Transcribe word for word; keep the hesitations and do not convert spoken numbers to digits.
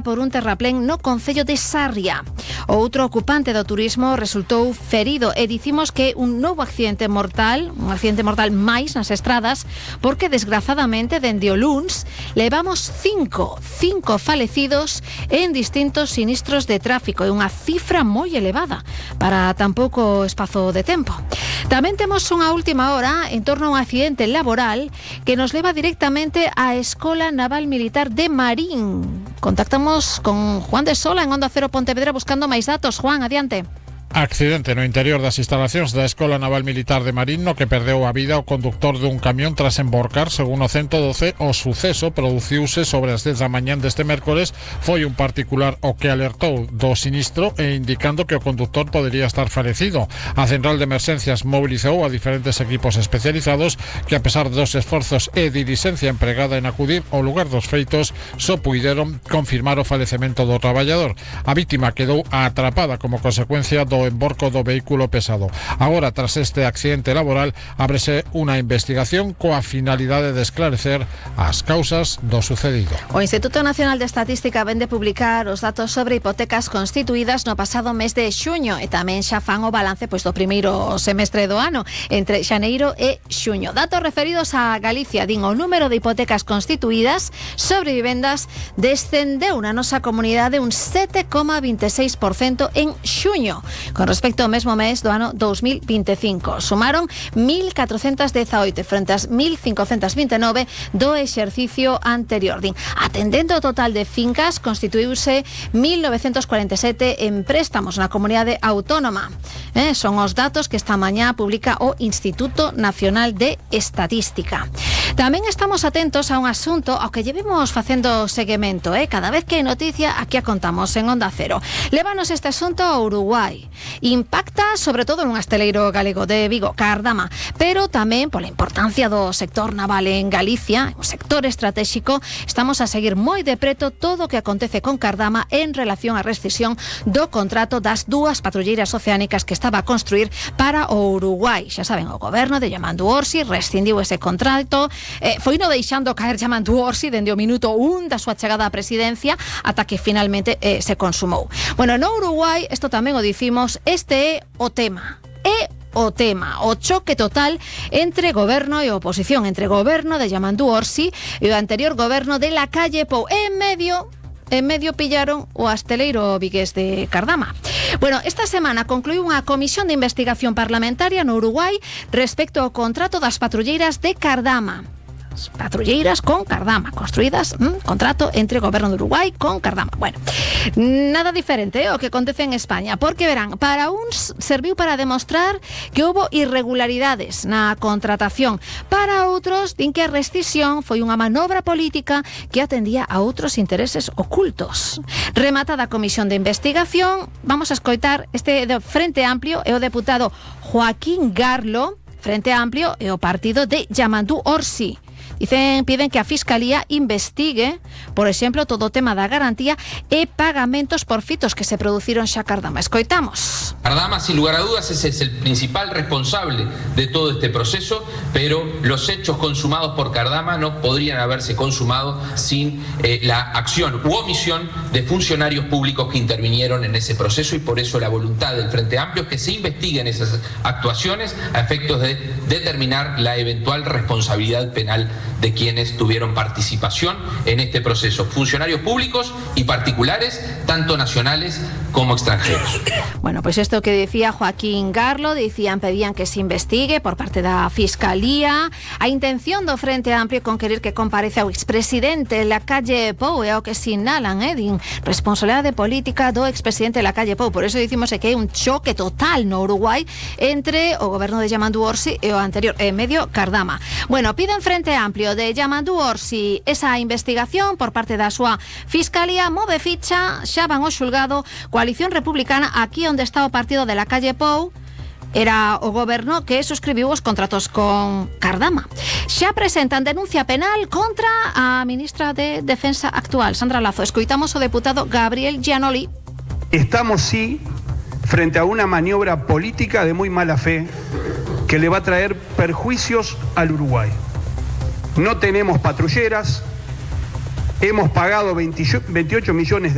por un terraplén no concello de Sarria. Outro ocupante do turismo resultou ferido e dicimos que un novo accidente mortal, un accidente mortal máis nas estradas, porque desgrazadamente dende o luns levamos cinco, cinco falecidos en distintos sinistros de tráfico, e unha cifra moi elevada para tan pouco espazo de tempo. Tamén temos unha última hora en torno a un accidente laboral que nos leva directamente á Escola Naval Militar de Marín. Contactamos con Juan de Sola en Onda Cero Pontevedra buscando máis datos. Juan, adiante. Accidente no interior das instalacións da Escola Naval Militar de Marín no que perdeu a vida o conductor dun camión tras emborcar. Segundo o ciento doce, o suceso produciuse sobre as dez da mañán deste mércores. Foi un particular o que alertou do sinistro e indicando que o conductor podería estar falecido. A central de emerxencias mobilizou a diferentes equipos especializados que, a pesar dos esforzos e dilixencia empregada en acudir ao lugar dos feitos, só puideron confirmar o falecemento do traballador. A vítima quedou atrapada como consecuencia do emborco do vehículo pesado. Agora, tras este accidente laboral, ábrese unha investigación coa finalidade de esclarecer as causas do sucedido. O Instituto Nacional de Estatística vén de publicar os datos sobre hipotecas constituídas no pasado mes de xuño e tamén xa fan o balance pois do primeiro semestre do ano, entre xaneiro e xuño. Datos referidos a Galicia, din o número de hipotecas constituídas sobre vivendas descendeu na nosa comunidade un sete coma veintiséis por cento en xuño. Con respecto ao mesmo mes do ano dos mil veinticinco, sumaron mil catrocentas dezaoito frente ás mil cincocentas veintinueve do exercicio anterior. Din, atendendo ao total de fincas, constituíuse mil novecentos cuarenta e sete en préstamos na comunidade autónoma. Eh, son os datos que esta mañá publica o Instituto Nacional de Estatística. Tamén estamos atentos a un asunto ao que llevemos facendo seguimento, eh? Cada vez que hai noticia, aquí a contamos en Onda Cero. Lévanos este asunto a Uruguai. Impacta sobre todo nun asteleiro galego de Vigo, Cardama, pero tamén pola importancia do sector naval en Galicia, un sector estratégico. Estamos a seguir moi de preto todo o que acontece con Cardama en relación á rescisión do contrato das dúas patrulleiras oceánicas que estaba a construir para o Uruguai. Xa saben, o goberno de Yamandu Orsi rescindiu ese contrato, eh, foi no deixando caer Yamandu Orsi dende o minuto un da súa chegada á presidencia ata que finalmente eh, se consumou. Bueno, no Uruguai, isto tamén o dicimos, este é o tema. É o tema, o choque total entre goberno e oposición, entre goberno de Yamandu Orsi e o anterior goberno de Lacalle Pou. En medio En medio pillaron o asteleiro vigués de Cardama. Bueno, esta semana concluiu unha comisión de investigación parlamentaria no Uruguai respecto ao contrato das patrulleiras de Cardama. Patrulleiras con Cardama, construídas, mmm, contrato entre o goberno de Uruguai con Cardama. Bueno, nada diferente eh, o que acontece en España, porque verán, para uns serviu para demostrar que houbo irregularidades na contratación, para outros din que a rescisión foi unha manobra política que atendía a outros intereses ocultos. Rematada a comisión de investigación, vamos a escoitar este de Frente Amplio e o deputado Joaquín Garlo. Frente Amplio e o partido de Yamandu Orsi. Dicen, piden que a Fiscalía investigue, por exemplo, todo o tema da garantía e pagamentos por fitos que se produciron xa Cardama. Escoitamos. Cardama, sin lugar a dudas, ese es el principal responsable de todo este proceso, pero los hechos consumados por Cardama no podrían haberse consumado sin eh, la acción u omisión de funcionarios públicos que intervinieron en ese proceso, y por eso la voluntad del Frente Amplio es que se investiguen esas actuaciones a efectos de determinar la eventual responsabilidad penal de quienes tuvieron participación en este proceso, funcionarios públicos y particulares, tanto nacionales como extranjeros. Bueno, pues esto que decía Joaquín Garlo, decían, pedían que se investigue por parte da Fiscalía a intención do Frente Amplio con querer que comparece ao expresidente Lacalle Pou, é o que sinalan, eh, din responsabilidade política do expresidente Lacalle Pou. Por eso dicimos que hai un choque total no Uruguai entre o goberno de Yamandu Orsi e o anterior, en medio Cardama. Bueno, piden Frente Amplio de Yamandu Orsi esa investigación por parte da súa Fiscalía, move ficha, xa van ao xulgado. Coalición Republicana, aquí onde está o partido de Lacalle Pou, era o goberno que suscribiu os contratos con Cardama. Xa presentan denuncia penal contra a ministra de Defensa actual, Sandra Lazo. Escoitamos o deputado Gabriel Gianoli. Estamos, sí, frente a una maniobra política de muy mala fe que le va a traer perjuicios al Uruguay. No tenemos patrulleras, hemos pagado veintiocho millones de